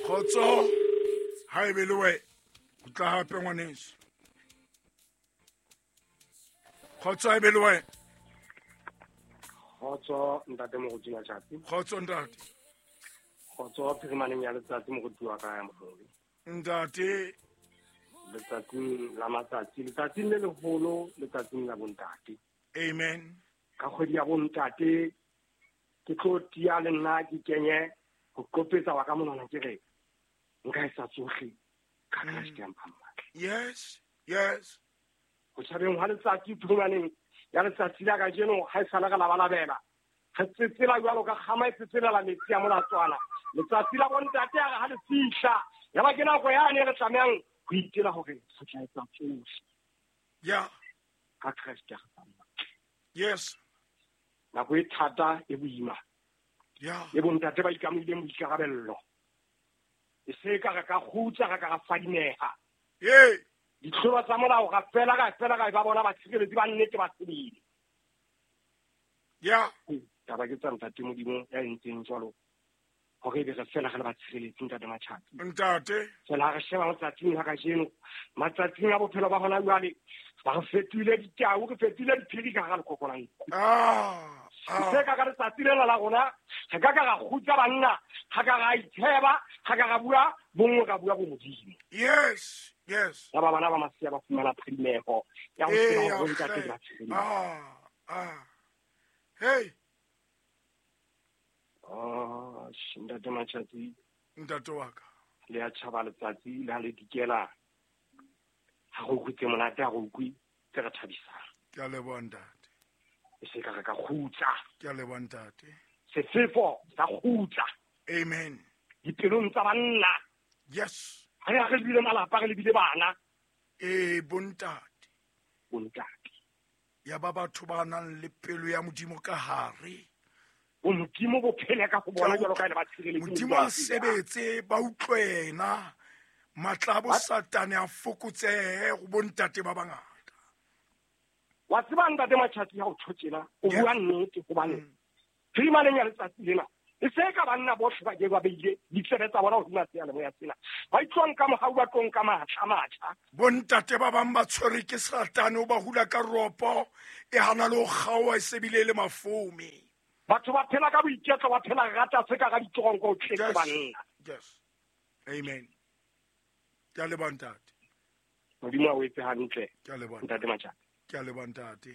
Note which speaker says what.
Speaker 1: Kgotso ha ebe le wena o tla hape ngwaneso. Kgotso ha ebe le wena.
Speaker 2: Kgotso ntate Moruti Matjhapi.
Speaker 1: Kgotso ntate.
Speaker 2: Kgotso phirimaneng ya letsatsi moruti wa ka ya moholo.
Speaker 1: Ntate.
Speaker 2: Letsatsing la matsatsi, letsatsing le leholo, letsatsing la bontate.
Speaker 1: Amen.
Speaker 2: Ka kgwedi ya bontate ke tlo tia le nna ke kenye ho qopetsa wa ka monwana ke re nka e sa tsohle ka Kreste ya mphang matla.
Speaker 1: Yes, yes.
Speaker 2: Ho tjhabeng hwa letsatsi phirimaneng ya letsatsi la kajeno ha e sale re labalabela. Re tsetsela jwalo ka kgama e tsetselela metsi a molatswana. Letsatsi la bontate a re ha le fihla, ya ba ke nako yane re tlamehang ho itela hore re tla etsa tsohle.
Speaker 1: Yeah.
Speaker 2: Ka Kreste ya re fang matla.
Speaker 1: Yes.
Speaker 2: Nako e thata e boima.
Speaker 1: Yeah.
Speaker 2: E bontate ba ikamohileng boikarabello. E se ka re ka kgutsa, re ka ra fadimeha.
Speaker 1: Ee.
Speaker 2: Ditlholo tsa molao ra fela ra fela ra ba bona batshireletsi ba nnete ba sebele.
Speaker 1: Yeah.
Speaker 2: Taba ke tsa ntate Modimo ya entseng jwalo hore ebe re fela re le batshireletsi ntate Matjhapi.
Speaker 1: Ntate.
Speaker 2: Fela ha re sheba matsatsing a kajeno, matsatsing a bophelo ba hona jwale, ba re fetohile ditau, re fetohile diphiri ka hara lekoko la nku.
Speaker 1: Ah. Ah.
Speaker 2: Se ka ka letsatsi lena la rona, re ka ka ra kgutsa banna, ga ka ra itsheba, ga ka ra bua bonngwe, ra bua bomodimo.
Speaker 1: Yes, yes.
Speaker 2: Ya ba bana ba masea ba fumana phadimeho ya ho tseba
Speaker 1: Ee,
Speaker 2: hore bontate ke
Speaker 1: ya,
Speaker 2: batshireletsi.
Speaker 1: Ah, ah. Hey.
Speaker 2: Oh, ntate Matjhapi.
Speaker 1: Ntate wa ka.
Speaker 2: Le ya tjhaba letsatsi le ha le dikela. Ha go utlwe tse monate, ha go utlwe tse re thabisang.
Speaker 1: Ke a leboha ntate.
Speaker 2: E se ka re ka kgutsa.
Speaker 1: Ke a leboha ntate.
Speaker 2: Sefefo sa kgutsa.
Speaker 1: Amen.
Speaker 2: Dipelong tsa banna.
Speaker 1: Yes.
Speaker 2: Ha re re lebile malapa, re lebile bana.
Speaker 1: Ee, bontate.
Speaker 2: Bontate.
Speaker 1: Ya ba batho ba nang le pelo ya Modimo ka hare.
Speaker 2: Bo Modimo bo phele ka ho bona jwalo ka e le ba tshireletsi
Speaker 1: Modimo a sebetse, ba utlwe yena. Matla a bo Satane a fokotsehe go bontate ba bangata.
Speaker 2: Wa tseba ntate Matjhapi ha o tjho tjena, o
Speaker 1: Yes.
Speaker 2: bua nnete hobane phirimaneng ya letsatsi lena e se ka banna bohle ba ke ba beile ditsebe tsa bona hodima seyalemoya sena. Ba itlong ka mohau, ba tlong ka matla, matjha.
Speaker 1: Bontate ba bang ba tshwerwe ke Satane, o ba hula ka ropo, e hana le ho kgaoha, e se bile e le mafome.
Speaker 2: Batho ba phela ka boiketlo, ba phela rata se ka ga ditoronko, o tletse
Speaker 1: Yes.
Speaker 2: banna.
Speaker 1: Yes. Amen. Ke a leboha ntate.
Speaker 2: Modimo a o etse hantle.
Speaker 1: Ke a leboha
Speaker 2: Ntate Matjhapi.
Speaker 1: Ke a leboha ntate.